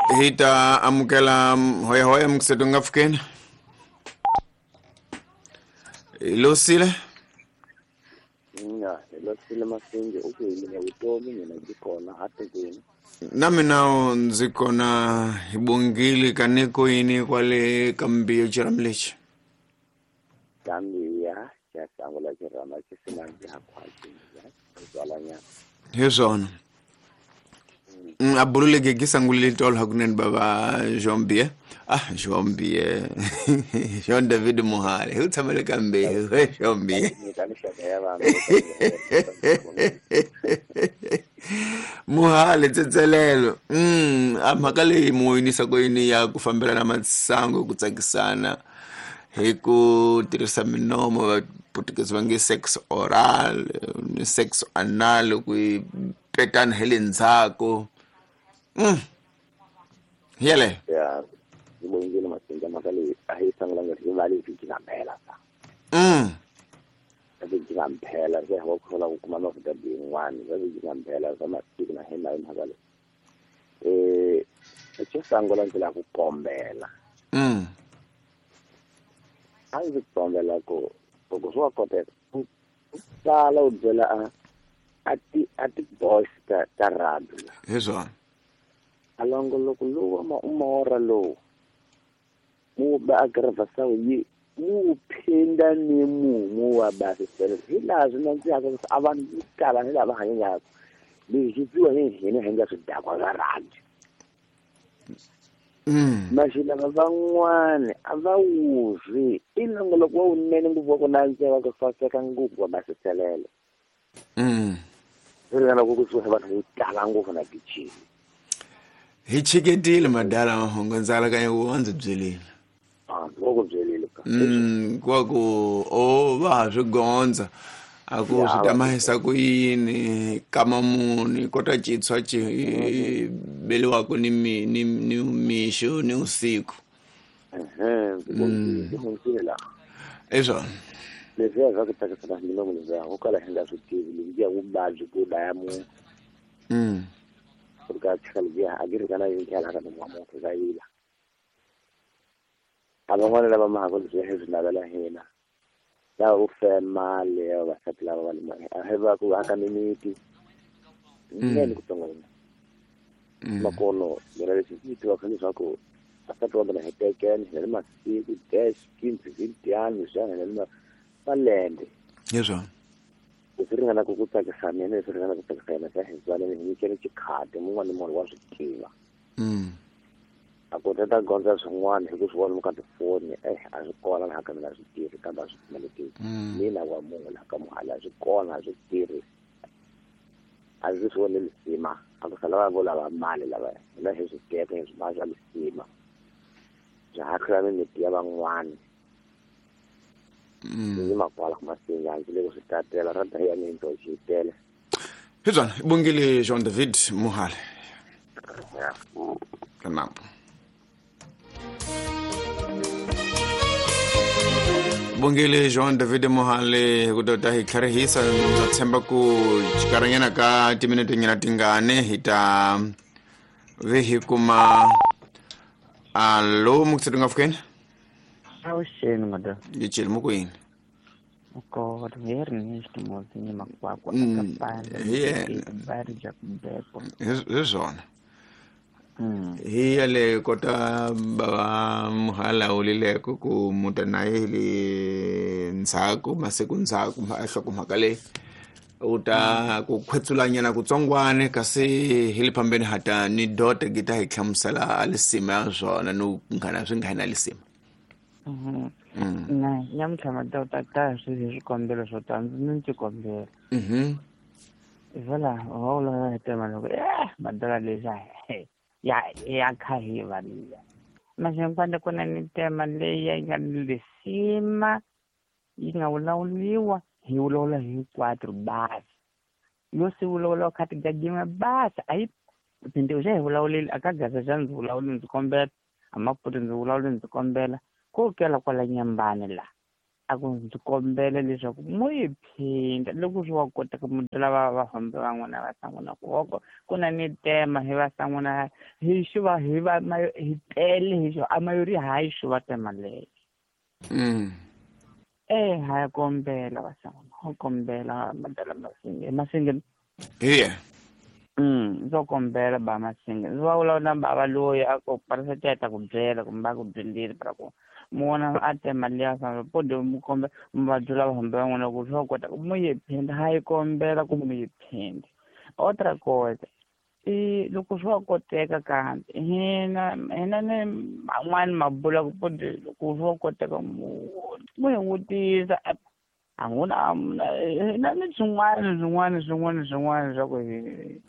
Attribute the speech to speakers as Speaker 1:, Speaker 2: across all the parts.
Speaker 1: Hi ta amukela hoyahoya mukseto nga pfukeni. Hi losile.
Speaker 2: Nga hi losile Masinge u ku hi mina vutomi mina ndzi kona a tikweni.
Speaker 1: Na mina ndzi kona hi bongile ka niko yini kwale ka mbiyo xirhami lexi.
Speaker 2: Kambiya xa sangula xirhama xi sina ndzhaku twalanyana.
Speaker 1: Hi swona. A bululeke ki sangulile tolo hakunene bava Jean-Pierre. Ah, Jean-Pierre. Jean David Muhale. Hi u tshamele ka mbewu Jean-Pierre.
Speaker 2: Nyika mixaka ya vanhu.
Speaker 1: Muhale tsetselelo. A mhaka leyi mu yinisa ku yini ya ku fambelana masangu ku tsakisana hi ku tirhisa minomo vaputukezi va nge sex oral ni sex anal ku yi petana hi le ndzhaku. Yeleyo.
Speaker 2: Ya hi bongile Masinge mhaka leyi a hi sangulanga hi va le vhiki nga mphela sa. Vhiki nga mphela se wa ku ku kuma mafuta yin'wana va vhiki nga mphela swa masiku na hina hi mhaka leyi. Xo sungula ndzi lava ku kombela. A ndzi kombela ku loko swi wa koteka u tala u byela a ti boys ta rugby la.
Speaker 1: Hi swona.
Speaker 2: A longoloko lowu wa umora lowu mu ba agravasa yi mu phinda ni mumu wa basisela hi laha swi nandzihaka a vanhu vo tala ni lava hanyaka leswi swi twiwa hi hina hi nga swidakwa swa rugby. Maxilava van'wani a va wuzwi i nongoloko wa wunene ngopfu wa ku nandziha wa ku saseka ngopfu wa basiselelo. Swi ringana ku kusuhi vanhu vo tala ngopfu na kichini.
Speaker 1: Hi chiketile madala mahungu ndzi alakanya ku wa ndzi byelile.
Speaker 2: Wa ku byelile ka.
Speaker 1: Kwa ku o va ha swi gondza a ku swi ta mahisa ku yini kama muni kota chitshwa chi beliwaka ni ni ni mixo ni usiku.
Speaker 2: Ndzi hundzile laha.
Speaker 1: I swona.
Speaker 2: Leswiya swa ku tsakisana milomo leswiya ho kala hi nga swi tivi lebyiya vuvabyi ku dlaya munhu. Ku ri ka tshika lebyiya a byi ringana yini tlhela ka nomu wa munhu ka yila. A van'wana lava mahaka leswiya hi swi navela hina lava vo fema mali ya vavasati lava va le a hi va ku aka mimiti nene ku tsongwana. Makono mina leswi ndzi tivaka leswaku vasati va mina hi tekene hi le masiku dash kinzi vintiani leswiya hi le malembe.
Speaker 1: Hi swona.
Speaker 2: Leswi ringanaka ku tsakisa mina leswi ringanaka ku tsakisa yena swa hi tswaleni hi nyikele xikhadi mun'wana ni mun'wana wa swi tiva. A ku ta gondza swin'wana hi ku swi vona ka tifoni a swi kona laha ka mina a swi tirhi kambe a swi pfumelekeki. Mina wa munhu laha ka Muhale a swi kona a swi tirhi. A ndzi swi voni lisima a ku sala va vo lava mali lava hina hi swi teka hi swi va swa lisima. Bya hahlula mimiti ya van'wana. Ndzi makwala Masinga ndzi le ku swi tatela ra daya minto xi tele.
Speaker 1: Hi swona hi bongile Jean David Muhale. Ka nambu. Bongile Jean David Muhale hi ku ta hi tlharihisa ndza tshemba ku xikarhinyana ka timinete nyana tingani hi ta ve hi kuma alo mukutsetu nga pfukeni.
Speaker 3: Avuxeni madam.
Speaker 1: Yi cheli mu ku yini?
Speaker 3: Kona hi ri ni ximozi ni makwakwa
Speaker 1: Hi yena.
Speaker 3: Bari ja kubekwa.
Speaker 1: Hi swona. Hi yale kota bava Muhala wulileko ku muta na ye le ndzhaku masiku ndzhaku a nhlokomhaka leyi u ta ku khwetsulanyana kutsongwane kasi hi le phambeni hata ni dota ki ta hi hlamusela lisima ya swona ni nghana swi nga na lisima.
Speaker 3: Na nyamuntlha madota ta swi hi swikombelo swo tala ndzi ni xikombelo. Vhela wa vulavula hi tema loko madola leswi ya khahiva liya. Maxingwana ku na ni tema leyi yi nga ni lisima yi nga vulavuriwa hi vulavula hinkwatro basi. Yo si vulavula kha tigagima basi a yi phindiwe xa hi vulavuleli a ka gaza xa ndzi vulavuli ndzi kombela a maputi ndzi vulavuli ndzi kombela ko kela kwala nyambani la. A ku ndzi kombela leswaku mo yi phinda loko swi wa koteka munhu lava va fambe van'wana va san'wana ku hoko ku na ni tema hi va san'wana hi xuva hi va hi tele hi xo a mayori hayi xuva tema leyo. Ha kombela va san'wana ho kombela madala masinge masinge
Speaker 1: yeah.
Speaker 3: Ndzo kombela ba masinge ndzi va vulavula na bava loyi a ku parisa ta ku byela kumbe a ku byelile pra ku mona a tema liya famba pode mu kombe muvabyi lava fambe van'wana ku swa kota mu yi phinda ha yi kombela ku mu yi phinda. Outra coisa i loko swi wa koteka kambe hina ni man'wani mabula ku pode loko swi wa koteka mu hi vutisa a nguna hina ni swin'wana swin'wana swin'wana swin'wana swa ku hi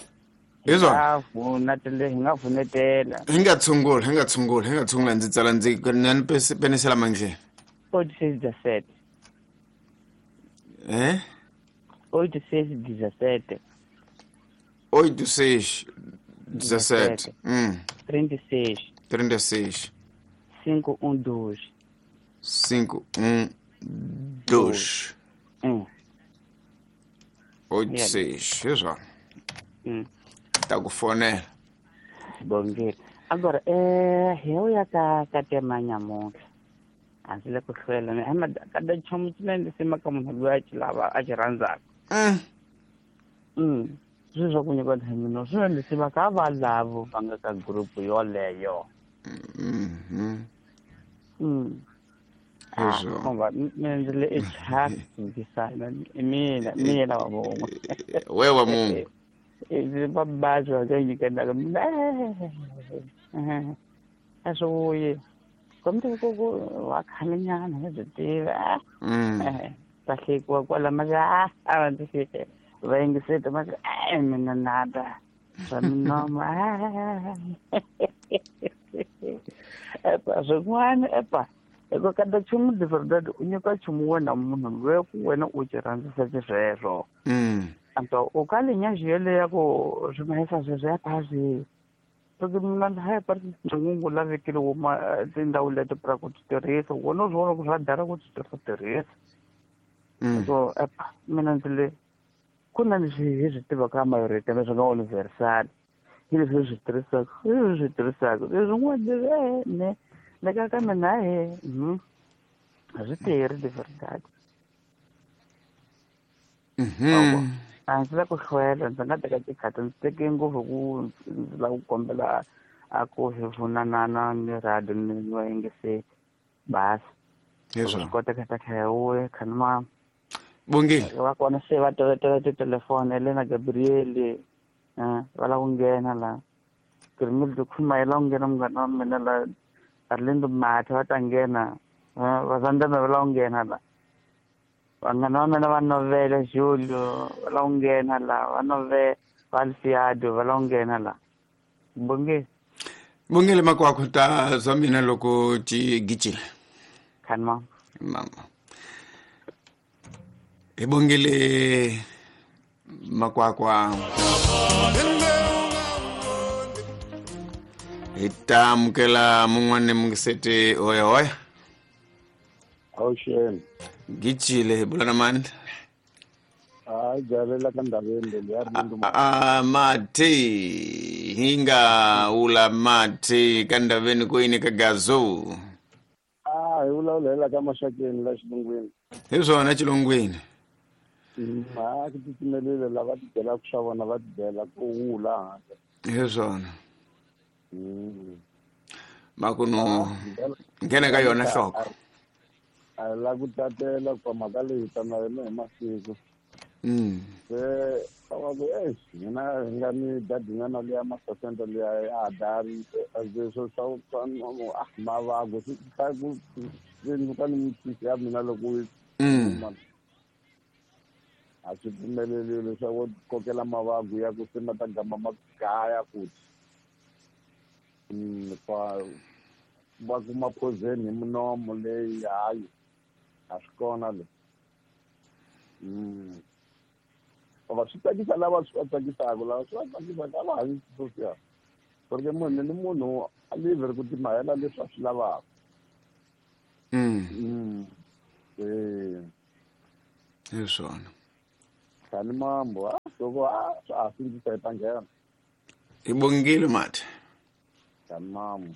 Speaker 3: hi nga vunetela
Speaker 1: hi nga tshungula hi nga tshungula hi nga tshungula ndzi tsala ndzi nani penisela mandleni
Speaker 3: 86 17 86 17
Speaker 1: 86 17
Speaker 3: 36
Speaker 1: 36
Speaker 3: 512
Speaker 1: 512 86 hi swona. Ta ku fonela.
Speaker 3: Bongile. Agora hi ya ka tema nyamuntlha a ndzi le ku hlwela kada nchumu xinene lexi maka munhu loyi a xi lava a xi rhandzaka. Sweswi swa ku nyika ntlhamino swi na lexi va ka va lavo va nga ka group yoleyo. Mina ndzi le echavisana mina mina wa vona.
Speaker 1: We wa munhu.
Speaker 3: Vabadzi va ka nyikendaka mina a swi vuyi kombe ku wa khalenyana hi byi tiva ta hlekiwa kwala ma a va ndzi hleke va yingiseta ma mina nada swa minomo epa swin'wana epa hikuva kada nchumu de verdade u nyika nchumu wena munhu loyi ku wena u xi rhandzisa xisweswo. Então o kalinha yele ya ku swi mahisa sweswo ya phasi loko mina ha parti ngungu la vekile wo ma tindhawu leti pra ku ti tirhisa wona u swi vona ku swa dara ku ti tirhisa. So epa mina ndzi le ku na leswi hi swi tivaka mayorite leswi nga universal hi leswi hi swi tirhisaka hi leswi swi tirhisaka leswin'wana ne le ka ka mina he a swi tirhi de verdade. A ndzi la ku hlwela ndzi nga teka tikhati ndzi teke ngopfu ku ndzi lava ku kombela a ku hi vunanana ni radio ni va yingiseli basi swi koteka ta tlhela wuya khani ma
Speaker 1: Bongile
Speaker 3: va kona se va tovetela titelefoni Elena Gabriel va lava ku nghena la Grimildo Khuma yi lava ku nghena munghana wa mina la Arlindo Mathe va ta nghena Vazandame va lava ku nghena la vanghana va mina va Novela Julio va lava ku nghena la va Novela va Alfiado va lava ku nghena la. Bongile
Speaker 1: Bongile makwakho ta zwa mina loko ti gijile
Speaker 3: khani mama
Speaker 1: mama hi bongile makwakwa hi ta amukela mun'wana mungiseti hoya hoya.
Speaker 4: Awuxeni.
Speaker 1: Gijile hi bula na mani?
Speaker 4: Hayi jalela ka ndhaveni leyi ya ri
Speaker 1: a mati hi nga wula mati ka ndhaveni ku yini ka gazo.
Speaker 4: A hi vulavula ka maxakeni la xilungwini.
Speaker 1: Hi swona xilungwini.
Speaker 4: A ku titimelile lava ti byelaka swa vona va ti byela ku wula handle.
Speaker 1: Hi swona. Makuno nghena ka yona nhloko.
Speaker 4: A la ku tatela ku mhaka leyi ta na yona hi masiku. Se va ku hina hi nga ni dadinyana liya masasenta liya a dari leswo swa mavago swi ta ku ndzi ni mitisi ya mina loko a swi pfumeleliwi leswaku kokela mavago ya ku se ma ta gama ma gaya futhi. Va kuma poison hi munomo leyi hayi a swi kona le. Va swi tsakisa lava swi va tsakisaka lava swi va tsakisaka a va hanyi sweswiya porque munhu ni munhu a livhe ku timahela leswi a swi lavaka.
Speaker 1: Hi swona.
Speaker 4: Tlhani mambo a loko a a sindzisa hi ta nghena.
Speaker 1: Hi bongile mati.
Speaker 4: Tlhani mambo.